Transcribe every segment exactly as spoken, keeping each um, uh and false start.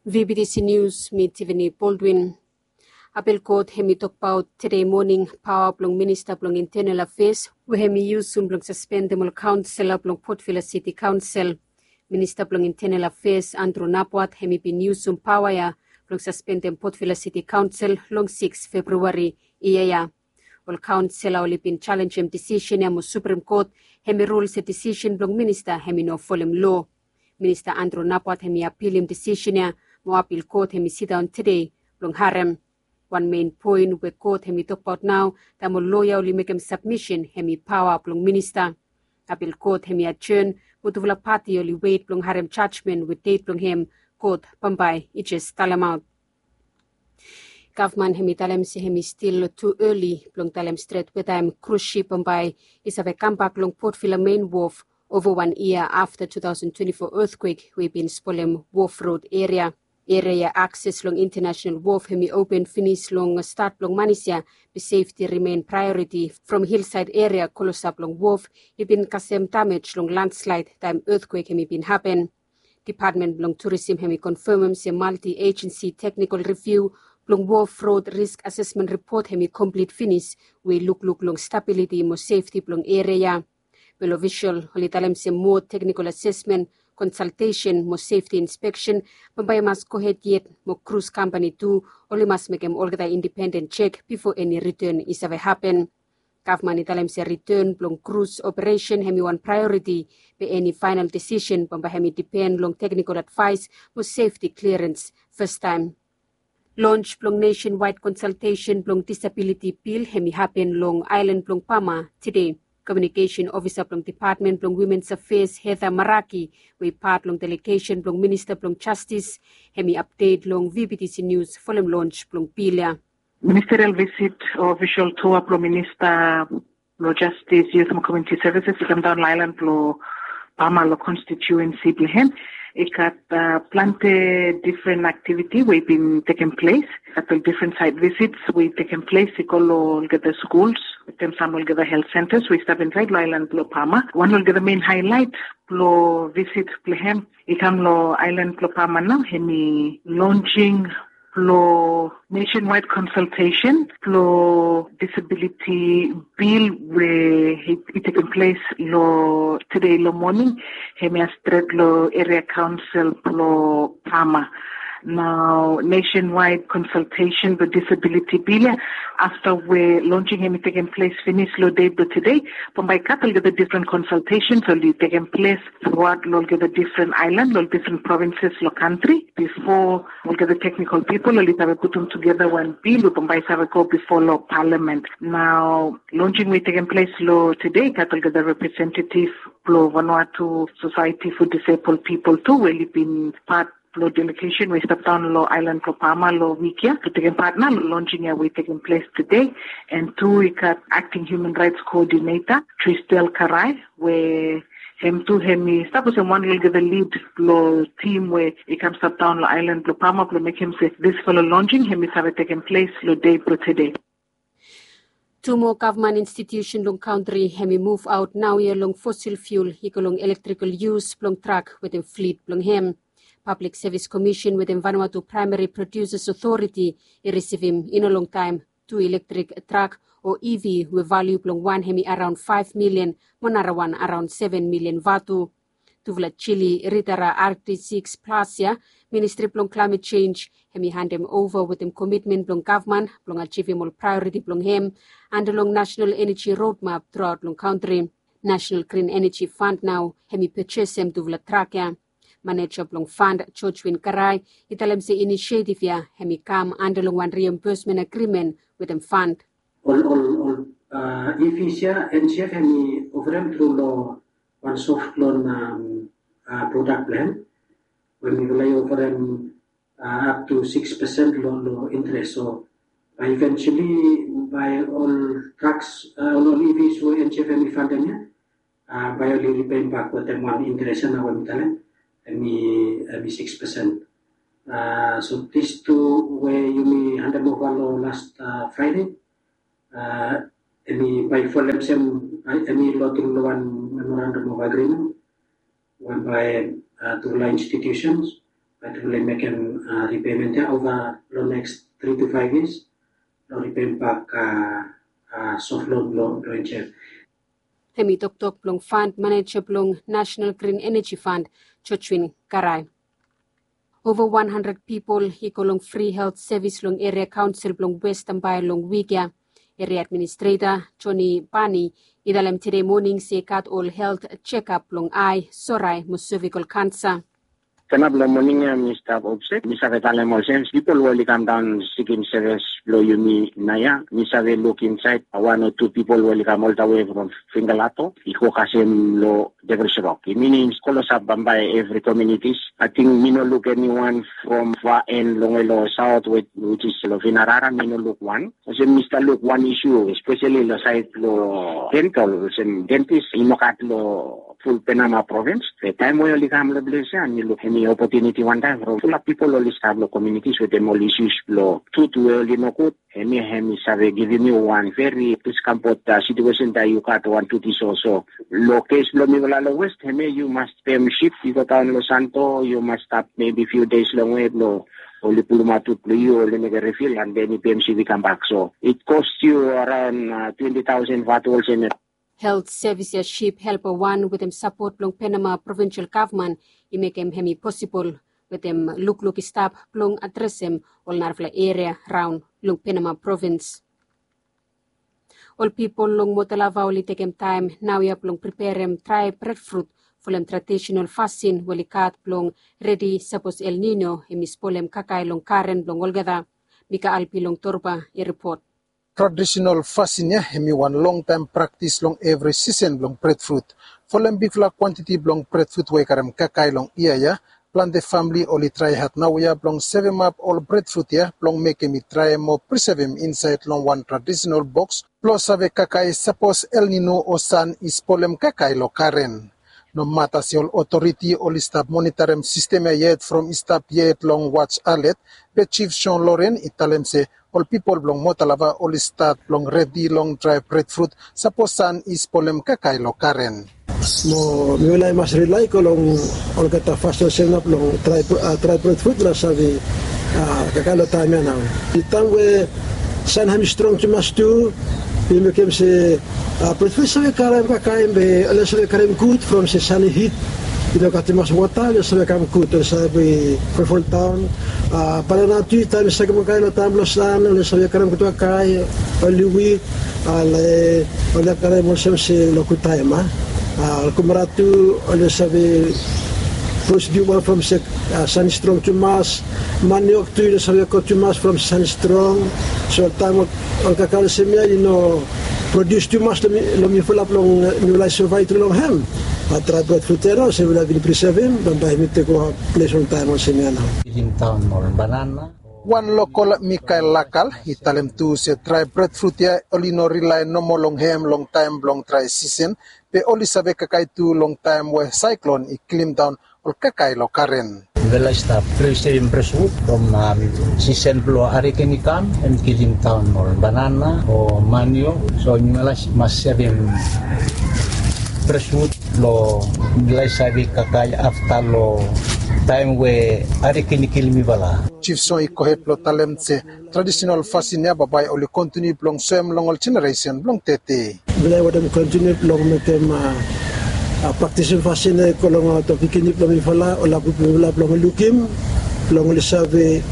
V B T C News, mi Tiffany Baldwin. Apil kot hemi tokbaot tede moning paoa blong minista blong intenel afeas we hemi yusum blong saspendem ol kaonsela blong Port Vila City Kaonsel. Minista blong intenel afeas Andrew Napuat hemi bin yusum paoa ya blong saspendem Port Vila City Kaonsel long sikis Februari yia ya. Ol kaonsela oli bin jalenjem disisen ya mo Suprem Kot hemi rul se disisen blong minista hemi no folem loa. Minista Andrew Napuat hemi apilim disisen ya mo apil kot hemi sidaon tede blong harem. Wan mein poen we kot hemi tokbaot nao taem ol loya oli mekem sabmisen hemi paoa blong minista. Apil kot hemi ajen mo tufala pati oli wet blong harem jajmen we det blong hem kot bambae i jes talemaot. Gavman hemi talem se hemi stil tu eli blong talem stret wetaem krus sip bambae i save kambak long Port Vila mein wof ova wan yia afta two thousand twenty-four etkwek we i bin spolem wof rod eria. Eria akses long intanasonal wof hemi open finis long stat blong manis ya be sefti rimen praeoriti from hilsaed eria klosap long wof i bin kasem damej long landslaed taem etkwek hemi bin hapen. Dipatmen blong Turisim hemi konfemem se malti ejensi teknikol riviu blong wof rod risk asesmen ripot hemi komplit finis we i lukluk long stabiliti mo sefti blong eria ya. Wel ofisol oli talem se moa teknikol asesmen, konsaltesen mo sefti inspeksen bambae i mas gohed yet mo krus kampani tu oli mas mekem olgeta indipenden jek bifo eni riten i save hapen. Gavman i talem se riten blong krus operesen hemi wan praeoriti be eni faenal disisen bambae hemi dipen long teknikol advaes mo sefti kliarens fastaem. Lons blong nesenwaed konsaltesen blong disabiliti bil hemi hapen long aelan blong Pama tede. Komiunikesen ofisa blong dipatmen blong wimens afeas Heather Maraki we i pat long delegesen blong minista blong jastis hemi apdet long V B T C Nius folem lons blong bil ya. Ministerial visit o ofisol tua blong minista blong jastis, yut mo komuniti sevises i kamdaon long aelan blong Pama long konstitiuensi blong hem. I gat plante difren aktiviti we i bin tekem ples. I gat ol difren saet visits we i tekem ples i go long olgeta skuls wetem sam olgeta helt sentas we i stap insaed long aelan blong Pama. Wan olgeta mein haelaet blong visit blong hem i kam long aelan blong Pama nao hemi lonsing blong nesenwaed konsaltesen blong disabiliti bil we i tekem ples long tede long moning. Hemia stret long eria kaonsel blong Pama. Nao nesenwaed konsaltesen blong disabiliti bil ya afta we lonsing hemi tekem ples finis long dei blong tede. Bambae i gat olgeta difren konsaltesens oli tekem ples truaot long olgeta difren aelan long difren provinses long kantri bifo olgeta teknikol pipol oli save putum tugeta wan bil we bambae i save go bifo long palamen. Nao lonsing we i tekem ples long tede i gat olgeta representetif blong Vanuatu Sosaeti fo Disebol Pipol tu we oli bin pat blong delegesen we i stap daon long aelan blong Pama long wik ya blong tekem pat nao long lonsing ya we i tekem ples tede. An tu i gat akting hiuman raets koodineta Tristel Karai we hem tu hemi stap olsem wan long olgeta lid blong tim we i kam stap daon long aelan blong Pama blong mekem se disfala lonsing hemi save tekem ples long dei blong tede. Tu moa gavman institiusen long kantri hemi muvaot naoia long fosil fiul i go long elektrikol yus blong trak wetem flit blong hem. Pablik Sevis Komisen wetem Vanuatu Praemari Produsas Otoriti i risivim i no longtaem tu ilektrek trak o E V we valiu blong wan hemi araon faef milian mo narawan araon seven milian vatu. Tufala jili ritara R T six Plus ya, Ministri blong Klaemet Jenj hemi handem ova wetem komitmen blong gavman blong ajivim ol praeoriti blong hem anda long Nasenal Eneji Rodmap truaot long kantri. Nasenal Grin Eneji Fand nao hemi pejesem tufala trak ya. Maneja blong fand Jojwin Karai i talem se inisietif ya hemi kam anda long wan riembesmen agrimen wetem fand. Ol ol ol E Vs ya N G F hemi oferem tru long wan soft loan prodak blong hem we mifala i oferem ap tu sikis pesen long interes. So bae iventuali bae ol traks ol ol E Vs we N G F hemi fandem ya bae oli ripeim bak wetem wan interes ya nao we mi talem hemi sikis pesen. So dis tu we yumi handem ova long las Fraede hemi bae i folem olsem hemi long tru long wan memorandum of agreement we bae tufala institusens Bat oli mekem ripeimen ya ova long next tri tu faiv yias long ripeim bak sof lon blong enjel. Hem i toktok blong fand maneja blong National Green Energy Fund, Jojwin Karai. Ova wan handred pipol i go long fri helt sevis long eria kaonsel blong West Tambai long wik ya. Eria administreta Joni Bani i talem tede moning se i gat ol helt jekap blong ai, sorai mo sevikol kansa. Tanap long moning ya mi stap opset, mi save talem olsem pipol we oli kam daon sikim sevis blong yumi naoia, mi save luk insaed wan o tu pipol we oli kam oltawe from Fingalato i go kasem long Devil's Rock. I minim klosap bambae evri komunitis. Ating mi no luk eniwan from va en longwe long saot, wejis long Vinarara mi no luk wan. Olsem mi stap luk wan isu espeseli long saed blong dentol, olsem dentis i no gat long ful Penama provins. Be taem we oli kam long ples ya mi luk hemi opotuniti wantaem from fulap pipol oli stap long komunitis wetem ol isus blong tut we oli nogud. Hemia hemi save givim yu wan veri diskampot situesen taem yu gat wan tut i soso. Long kes blong mifala long West, hemia yu mas pem sip i go daon long Santo, yu mas stap mebi fiu deis longwe blong oli pulumaot tut blong yu, oli mekem rifil, and then i pem sip i kambak. So it cost yu araon twenti taosen vatu olsem ya. Helt sevis ya sip helpa wan wetem sapot blong Penama provinsel gavman i mekem hemi posibol wetem lukluk i stap blong adresem ol narafala eria raon long Penama provins. Ol pipol long Motalava oli tekem taem naoia blong preperem drae bredfrut folem tradisenal fasin we oli gat blong redi sapos El Nino hemi spolem kakae long garen blong olgeta. Mika Albi long Torba i ripot. Tradisenal fasin ya hemi wan longtaem praktis long evri sisen blong bredfrut. Folem bigfala kwantiti blong bredfrut we i karem kakae long yia ya, plante famle oli trae had naoia blong sevemap ol bredfrut ya blong mekem i drae mo prisevem insaed long wan tradisenal boks blong save kakae sapos El Nino o san i spolem kakae long garen. Nomata se ol otoriti oli stap monitarem sistem ya yet from i stap yet long waj alet, be Jif Jon Loren i talem se ol pipol blong Motalava oli stat blong redi long drae bredfrut sapos san i spolem kakae long garen. Mo mifala i mas rilae i go long olgeta fas olsem nao blong drae bredfrut blong save kakae long taem ya nao. Taem we san hemi strong tumas tu, i mekem se bredfrut i save karem kakae be oli save karem gud from se san i hit. I no gat tumas wota, oli save kam gud, oli save folfoldaon. Banana tu taem i sakem kakae long taem blong san oli save karem gud kakae, oli wik, ale oli karem olsem se long gud taem a. Ol kumara tu oli save produs niu wan from se san i strong tumas. Maniok tu i no save go tumas from se san i strong. So taem ol kakae olsem ya i no produs tumas long mifala blong mifala i sovaev tru long hem. Drae bredfrut ya nao se mifala bin prisevem bambae hemi tekem ples long taem olsem ya nao. Kilim daon ol banana. Wan lokol Mikael Lakal i talem tu se drae bredfrut ya oli no rilae nomo long hem long taem blong drae sisen, be oli save kakae tu long taem we saeklon i kilimdaon ol kakae long garen. Mifala i stap prisevem bredfrut from sisen blong ariken i kam, hemi kilim daon ol banana o maniok. So mifala i mas sevem bredfrut blong mifala i save kakae afta long taem we ariken i kilim mifala. Jif Jon i gohed blong talem se tradisenal fasin ya bambae oli kontiniu blong soem long ol jeneresen blong tede. Mifala i wantem kontiniu blong mekem praktisim fasin ya i go long ol pikinini blong mifala, ol lapu blong mifala blong lukim, blong oli save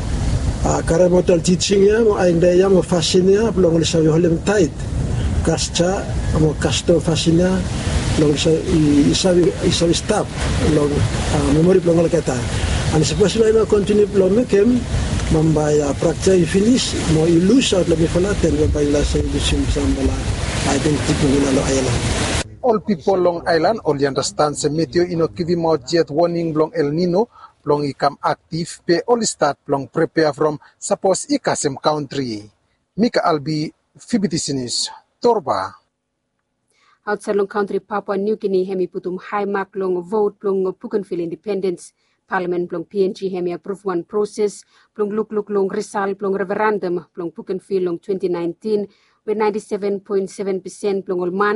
karemaot ol tijing ya mo aeda ya mo fasin ya blong oli save holem taet. Kastom mo kastom fasin ya blong i save stap long memori blong olgeta. And sapos mifala i no kontiniu blong mekem, bambae praktis ya i finis mo i lusaot long mifala, then bambae mifala save lusim samfala aedentiti blong mifala long aelan. Ol pipol long aelan oli andastan se Meteo i no givimaot yet woning blong El Nino blong i kam aktiv, be oli stat blong prepea from sapos i kasem kantri. Mika Albi, Fibitisinis, Torba. Aotsaed long kantri Papua New Guinea hemi putum hae mak long vot blong Bougainville independens. Palamen blong P N G hemi apruv wan proses blong lukluk long risal blong referendam blong Bougainville long twenti naentin, we naenti seven poen seven pesen blong ol man